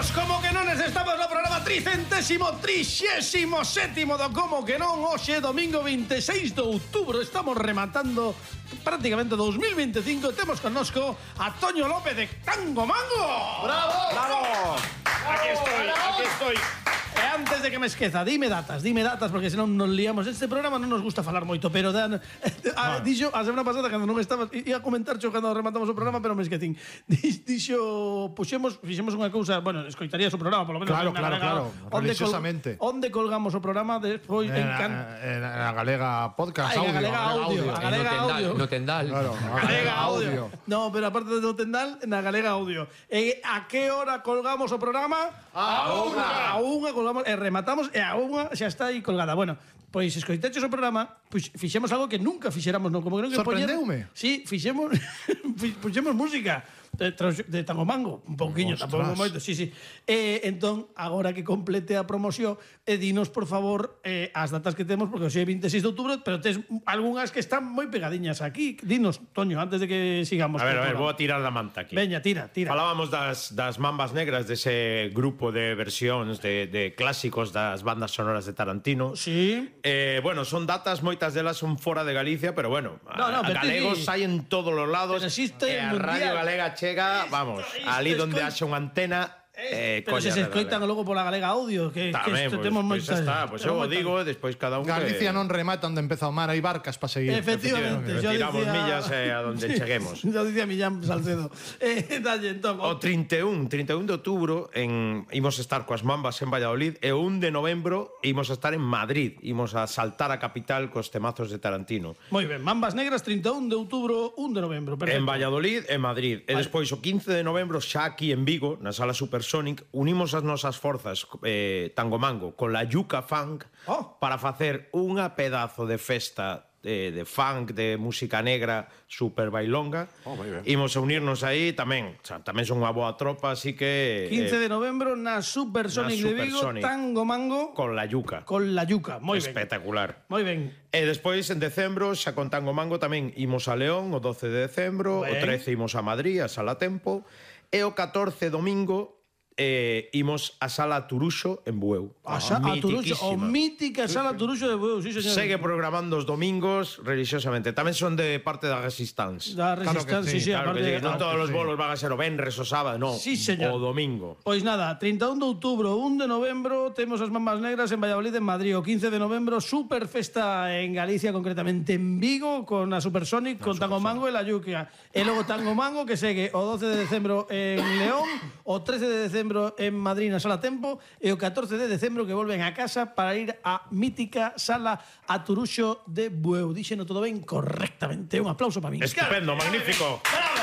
Benvidos, como que non, estamos no programa 337º do Como que non. Hoxe, domingo 26 de outubro, estamos rematando prácticamente 2025. Temos connosco a Toño López de Tango Mango. ¡Bravo! ¡Bravo! Aquí estoy. E antes de que me esqueza, dime datas, porque senón nos liamos. Este programa non nos gusta falar moito, pero dixo a semana pasada cando non estabas, ia comentar cando rematamos o programa, pero me esquecín. Dixo, fixemos unha cousa, bueno, escoitarías o programa, polo menos. Claro, religiosamente. Onde colgamos o programa despois en a Galega Podcast, a Galega Audio. No Tendal. Claro, a Galega Audio. No, pero aparte do Tendal, na Galega Audio. E a que hora colgamos o programa? A unha colgamos e rematamos e a unha xa está aí colgada. Bueno, pois escoiteches o programa, pois fixemos algo que nunca fixéramos, non? Como que non que sorprendeume. Sí, fixemos puxemos música de Tango Mango, un pouquiño, tampouco moito, sí. Entón, agora que complete a promoción, dinos, por favor, as datas que temos, porque hoxe é 26 de outubro, pero tes algunhas que están moi pegadiñas aquí. Dinos, Toño, antes de que sigamos. A ver, vou a tirar da manta aquí. Veña, tira. Falábamos das Mambas Negras, dese grupo de versións de clásicos das bandas sonoras de Tarantino. Sí. Bueno, son datas, moitas delas son fora de Galicia, pero bueno, a galegos hai en todos os lados. Pero existe e a Radio Galega chega, vamos, ali donde haxa unha antena. Pero se escoitan logo pola Galega Audio, que isto temos moitas. Pois eu digo, despois cada un Galicia non remata onde empeza o mar, hai barcas para seguir. Efectivamente, tiramos millas a donde cheguemos. Yo dicía Millán Salcedo. Dalle, entón. O 31 de outubro imos estar coas Mambas en Valladolid e o 1 de novembro imos a estar en Madrid. Imos a saltar a capital cos temazos de Tarantino. Moi ben, Mambas Negras, 31 de outubro, 1 de novembro. Perfecto. En Valladolid e Madrid. E despois o 15 de novembro xa aquí en Vigo, na Sala Supersonic, unimos as nosas forzas Tango Mango con la Yuca Funk para facer unha pedazo de festa de funk, de música negra super bailonga. Imos a unirnos aí tamén son unha boa tropa, así que 15 de novembro na Supersonic de Vigo, Tango Mango con la Yuca. Moi ben. Espectacular. Moi ben. E despois en decembro, xa con Tango Mango tamén imos a León o 12 de decembro, o 13 imos a Madrid, a Sala Tempo, e o 14 domingo imos a Sala Turuxo en Bueu. A Turuxo, o mítica Sala Turuxo de Bueu, sí, señor. Segue programando os domingos religiosamente. Tamén son de parte da Resistance. Da Resistance, sí, claro que sí. Non todos os bolos van a ser o venres o sábado, non. Sí, señor. O domingo. Pois nada, 31 de outubro, 1 de novembro temos as Mambas Negras en Valladolid, en Madrid. O 15 de novembro, super festa en Galicia, concretamente en Vigo, con a Supersonic, con Tango Mango e la Yuca. E logo Tango Mango, que segue o 12 de decembro en León, o 13 de decembro en Madrid na Sala Tempo e o 14 de decembro que volven a casa para ir á mítica Sala a Turuxo de Bueu. Díxeno todo ben correctamente. Un aplauso para min. Estupendo, magnífico.